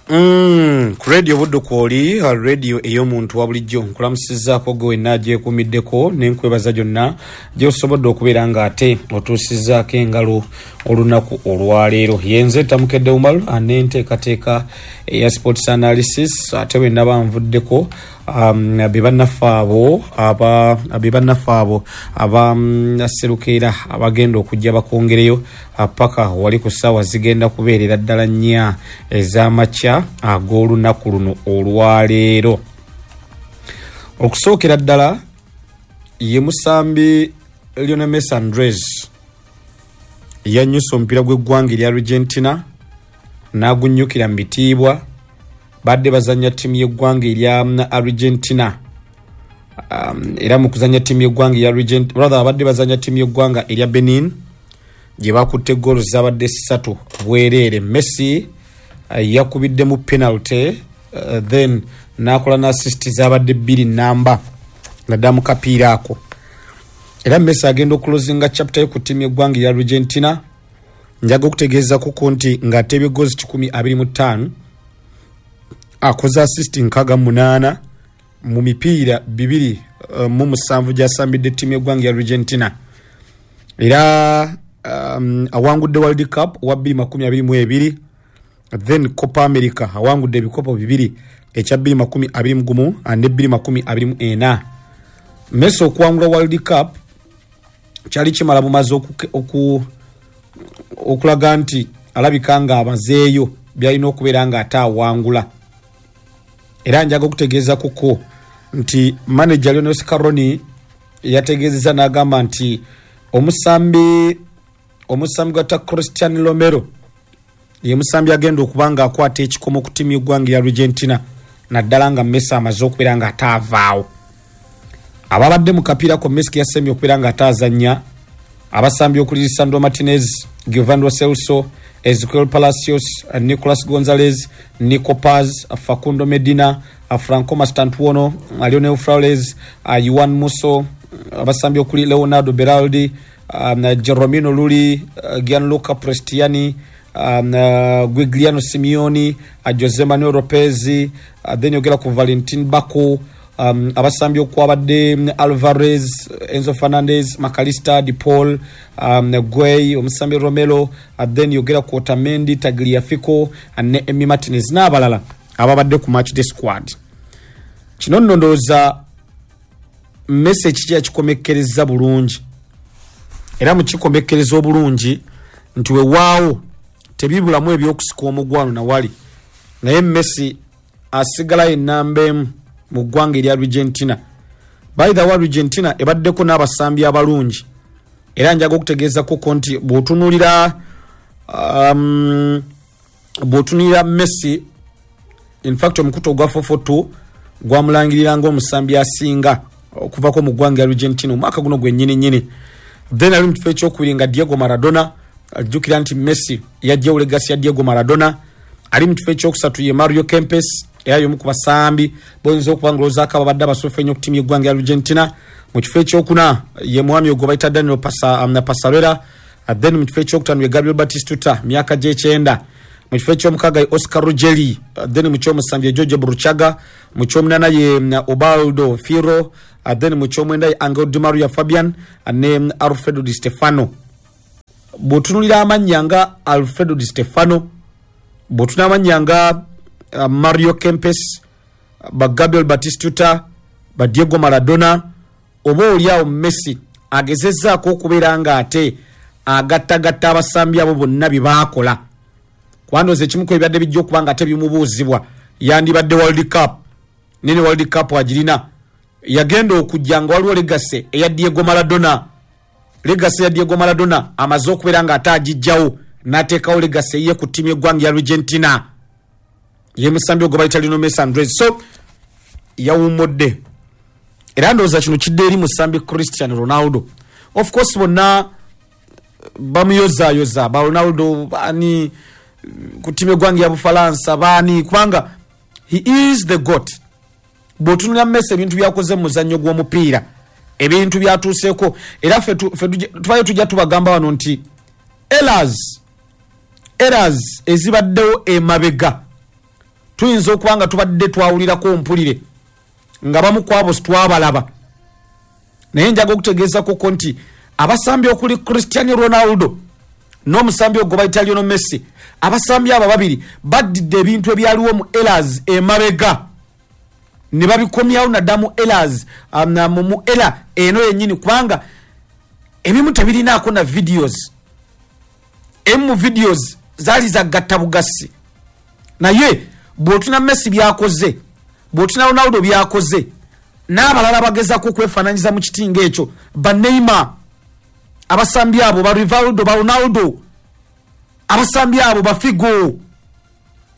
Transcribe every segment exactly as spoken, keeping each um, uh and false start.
Mm, ku radio Buddu kwoli, radio ey'omuntu wa bulijjo. Nkulamusizaako gwe wenna agyekuumiddeko n'enkwebaza gyonna gy'osobodde okubeera ng'ate otuusizzaako engalo olunaku olwaleero. Yenze Tamukedde Umar n'enteekateeka eya sports analysis. Ate bwe naba nvuddeko, um, be bannaffe abo aba be bannaffe abo aba mm, serukeera abagenda okujja bakwongereyo paka wali ku ssaawa zigenda kubeerera ddala nnya ez'amakya ag'olunaku luno olwaleero. Okusookera ddala ye musambi Lionel Messi Andres yannyusa omupiira gw'eggwanga erya Argentina n'agunnyukira mu bitiibwa. Badde bazanya ttiimu y'eggwanga erya Argentina, um, era mu kuzanya ttiimu y'eggwanga erya Argentina, rather abadde bazanya ttiimu y'eggwanga erya Benin gye bakutte goolo zabadde ssatu bwereere. Messi uh, yakubiddemu penalty, uh, then n'akola n'assist zabadde bbiri namba naddala mu kapiira ako. Era Messi agenda okuclosinga chapter ye ku ttiimu y'eggwanga erya Argentina. Njaga okutegeeza kuko nti ng'ateebye goals kikumi abiri mu ttaano, akoze assist nkaaga munaana mu mipiira bibiri uh, mu musanvu gy'asambidde ttiimu y'eggwanga ya Argentina. Era um, awangudde World Cup wa bbiri makumi abiri mu ebiri, then Copa America awangudde ebikopo bibiri, ekya bbiri makumi abiri mu gumu ne bbiri makumi abiri mu ena. Messi okuwangula World Cup kyali kimala bumaze oku, okulaga nti alabika nga amazeeyo byalina okubeera nga ate awangula. Era njaga okutegeeza kuko nti manager Lionel Scaloni yategeezeza n'agamba nti omusambi omusambi gwata Christian Romero ye musambi agenda okuba nga akwata ekikomo ku ttiimu y'eggwanga ya Argentina, naddala nga Messi amaze okubeera nga ate avaawo. Ababadde mu kapiira ko Messi yasemye okubeera nga ate azannya, abasambi okuli Lisandro Martinez, Giovanni Lo Celso, Ezequiel Palacios, Nicolas Gonzalez, Nico Paz, Facundo Medina, Franco Mastantuono, Leonel Flores, Juan Musso, abasambi okuli Leonardo Beraldi, um, Jeromino Rulli, Gianluca Prestiani, um, uh, Giuliano Simeone, uh, Jose Manuel Lopez, uh, then yogera ku Valentin Bako, um, abasambi okwabadde Alvarez, Enzo Fernandez, Mac Allister, De Paul, um, Gueye, omusambi Romero, uh, then yogera ku Otamendi, Tagliafico uh, ne Emi Martinez n'abalala ababadde ku match day squad. Kino nno ndowooza Messi kiki yakikomekkereza bulungi, era mukikomekkereza obulungi nti wewaawo tebibulamu ebyokusika omugwano nawali, naye Messi asigalayo enamba emu mu ggwanga erya Argentina. By the way, Argentina ebaddeko n'abasambi abalungi, era njaga okutegeezakoko nti bw'otunuulira um, bw'otunuulira Messi, in fact omukutu ogwa four four two gwamulangirira ng'omusambi asinga okuvako mu ggwanga lya Argentina omwaka guno gwennyini nnyini. Then ali mu kifo ekyokubiri nga Diego Maradona. Ajjukira nti Messi yajjawo legacy ya Diego Maradona. Ali mu kifo ekyokusatu ye Mario Kempes, era y'omu ku basambi boyinza okuba ng'olowoozaako ababadde abasuufu ennyo ku ttiimu y'eggwanga ya Argentina. Mu kifo ekyokuna ye mwami ogwo bayita Daniel Pasa, um, Passarella. Then mu kifo ekyokutaano ye Gabriel Batistuta, myaka gy'ekyenda. Mu kifo ekyomukaaga ye Oscar Ruggeri. Then mu kyomusanvu ye George Burruchaga. Mu kyomunaana ye mm, Ubaldo Fillol. Then mu kyomwenda ye Angel Di Maria, Fabian ne mm, Alfredo Di Stefano. Bw'otunuulira amannya nga Alfredo Di Stefano, bw'otunula amannya nga uh, Mario Kempes, ba Gabriel Batistuta, ba Diego Maradona, oba oliawo Messi agezezzaako okubeera nga ate agattagatta abasambi abo bonna bye baakola, kubandooza ekimu ku ebibadde bijja okuba nga ate bimubuuzibwa yandibadde World Cup. Nene World Cup agirina, yagenda okujja nga waliwo legacy eya Diego Maradona. Legacy ya Diego Maradona amaze okubeera nga ate agijjawo n'ateekawo legacy ye ku ttiimu y'eggwanga ya Argentina, ye musambi ogwo bayita Lionel Messi Andres. So yawummudde, era ndowooza kino kidde eri musambi Cristiano Ronaldo. Of course bonna bamuyozaayoza, ba Ronaldo baani ku ttiimu y'eggwanga ya Bufalansa baani, kubanga he is the GOAT. Bw'otunulira Messi, ebintu byakoze mu muzannyo gw'omupiira, ebintu byatuuseeko, era ffe tubayo tujja tubagamba wano nti errors errors ezibaddewo emabega. Tuyinza okuba nga tubadde twawulirako mpulire nga bamu ku abo twabalaba, naye njaga okutegeezako nti abasambi okuli Cristiano Ronaldo n'omusambi ogwo bayita Lionel Messi, abasambi abo babiri baddidde ebintu ebyaliwo mu eras emabega ne babikomyawo nadda mu eras mu era eno yennyini, kubanga ebimu tebirinaako na videos. Emu mu videos zaali zagatta bugasi, naye bw'otuna Messi byakoze, bw'otuna Ronaldo byakoze, n'abalala bagezaako okwefaananyiza mu kitinga ekyo, ba Neymar, abasambi abo ba Rivaldo, ba Ronaldo, abasambi abo ba Figo,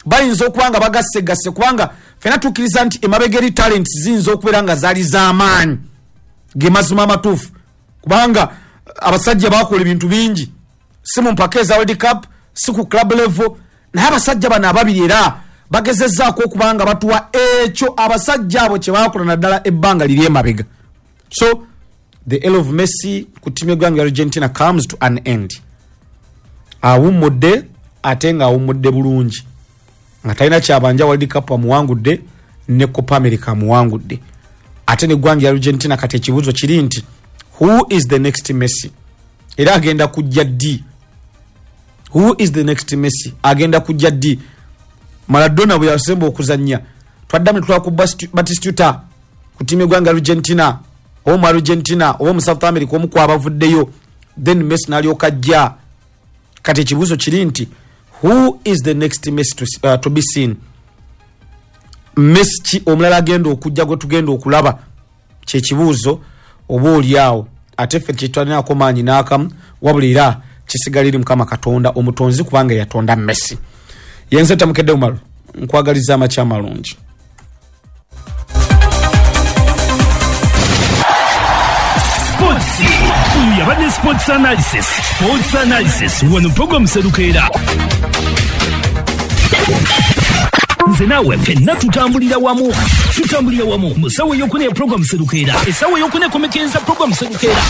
bayinza okuba nga bagassegasse, kubanga ffenna tukkiriza nti emabega eri talent ziyinza okubeera nga zaali z'amaanyi, ge mazima amatuufu, kubanga abasajja bakola ebintu bingi, si mu mpaka eza World Cup, si ku club level, naye abasajja bano ababiri era bagezezzaako okuba nga batuwa ekyo abasajja abo kye baakola naddala ebbanga liri emabega. So the era of Messi ku ttiimu y'eggwanga Argentina comes to an end. Awummudde, ate ng'awummudde bulungi, nga talina kyabanja. World Cup amuwangudde ne Copa America amuwangudde, ate neggwanga Argentina. Kati ekibuuzo kiri nti who is the next Messi? Era agenda kujja ddi? Who is the next Messi? Agenda kujja ddi? Maradona bwe yasemba okuzannya, twaddamu ne tulaba ku Batistuta ku ttiimu y'eggwanga Argentina, oba mu Argentina oba mu South America, omu kwabavuddeyo, then Messi n'alyoka ajja. Kati ekibuuzo kiri nti who is the next Messi to, uh, to be seen? Messi ki omulala agenda okujja gwe tugenda okulaba? Kyekibuuzo oba oli awo, ate ffe kyetwalinako maanyi n'akamu, wabula era kisigala eri Mukama Katonda omutonzi, kubanga yatonda Messi. Yenze Tamukedde Umaru, nkwagaliza amakya amalungi. Sports oyo yabadde Sports Analysis. Sports Analysis wano program Serukeera, nze naawe ffenna tutambulira wamu, tutambulira wamu mu ssaawa eyokuna ya program Serukeera, essaawa eyokuna ekomekereza program Serukeera.